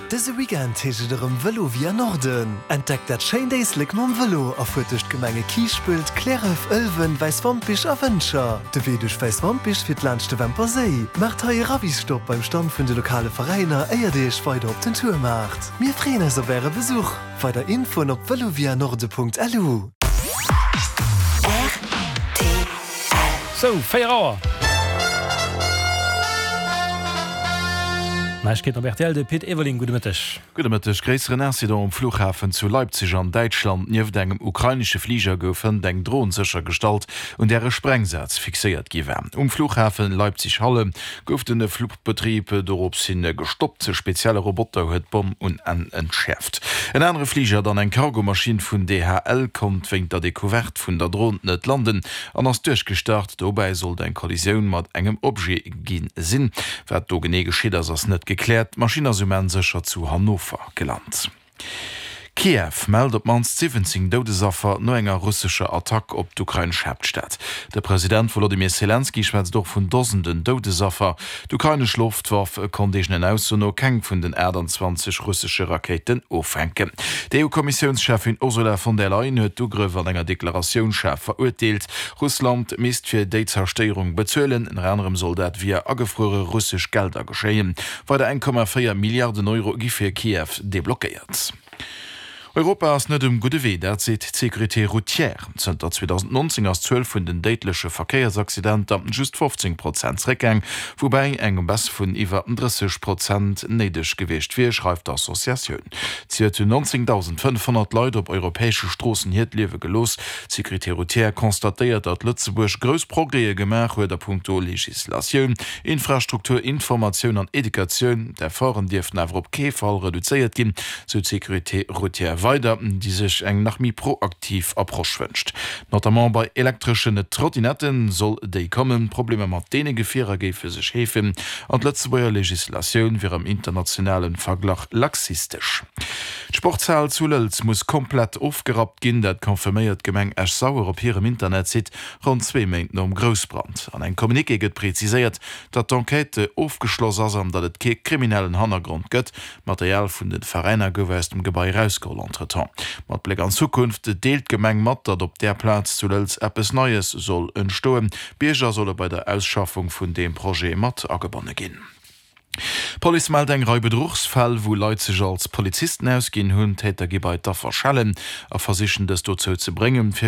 Dëse Weekend heescht et erëm Vëlo via Norden. Entdeckt dat schéint Éislek mam Vëlo a fuert duerch d'Gemenge Kiischpelt, Cliärref, Ëlwen, Wäiswampich a Wëntger. De Wee duerch Wäiswampich fiert laanscht de Wämper Séi. Maacht hei e Ravisstopp beim Stand vun de lokale Veräiner éier dir iech weider op den Tour maacht. Mir freeën eis op äre Besuch! Weider Infoen op velovianorde.lu. Sou, 4 Auer. Neiegkeeten op rtl, de Pit Everling, gudde Mëtteg. Gudde Mëtteg. Gréisseren Incident um Flughafen zu Leipzig an Däitschland. Nieft engem ukrainesche Fliger gouf hënt eng Dron séchergestallt, un där e Sprengsaz fixéiert gi war. Um Flughafen Leipzig-Halle gouf de Fluchbetrib dorops hin gestoppt. E spezielle Roboter huet d'Bomm un Enn entschäerft. En anere Fliger, dann eng Cargomaschinn vun DHL, konnt wéint der Decouverte vun der Dron net landen an ass duerchgestart. Dobäi sollt eng Kollisioun mat engem Objet gi sinn. Wat do genee geschitt ass, ass net gekläert. D'Maschinn ass um Enn sécher zu Hannover gelant. Kiew mellt op d'mannst 17 Doudesaffer no enger russescher Attack op d'ukrainesch Haaptstad. De President Wolodymyr Selenskyj schwätzt och vun Dosenden Doudesaffer. D'ukrainesch Loftwaff konnt eegenen Ausso no keng vun den 28 russesche Rakéiten offänken. D'EU-Kommissiounscheffin Ursula von der Leyen huet d'Ugrëff an enger Deklaratioun schaarf verurteelt. Russland misst fir déi Zerstéierung bezuelen. Ënner anerem soll dat via agefruere russesch Gelder geschéien. Weider 1,4 Milliarden Euro gi fir Kiew deblockéiert. Europa ass net um gudde Wee, dat seet d'Sécurité routière. Zënter 2019 ass d'Zuel vun den déidleche Verkéiersaccidenter just 15 Prozent zeréckgaang, woubäi eng Baisse vun iwwer 30 Prozent néideg gewiescht wier, schreift d'Associatioun. Zejoert hunn 19.500 Leit op europäesche Stroossen hiert Liewe gelooss. D'Sécurité routière constatéiert, datt Lëtzebuerg grouss Progrèse gemaach huet a punkto Legislatioun, Infrastruktur, Informatioun an Educatioun. D'Efforten dierften awer op kee Fall reduzéiert ginn, sou d'Sécurité routière weider, déi sech eng nach méi proaktiv Approche wënscht. Notamment bei elektreschen Trottinetten soll déi kommen. D'Problemer mat deene Gefierer géife sech heefen an d'Lëtzebuerger Legislatioun wier am internationale Verglach laxistesch. D'Sportshal zu Lëlz muss komplett ofgerappt ginn, dat confirméiert d'Gemeng Esch-Sauer op hirem Internetsite ronn zwee Méint nom Groussbrand. An engem Communiqué gëtt preziséiert, datt d'Enquête ofgeschloss ass an datt et kee kriminellen Hannergrond gëtt. D'Material vun de Veräiner gouf aus dem Gebai erausgeholl. Entretemps, mat Bléck an d'Zukunft, deelt d'Gemeng mat, datt op där Plaz zu Lëlz eppes Neies soll entstoen. D'Bierger solle bei der Ausschaffung vun deem Projet mat agebonne ginn. D'Police mellt eng Rei Bedruchsfäll, wou Leit sech als Polizisten ausginn hunn. D'Täter gi bei d'Affer schellen a versichen dës dozou ze bréngen, fir.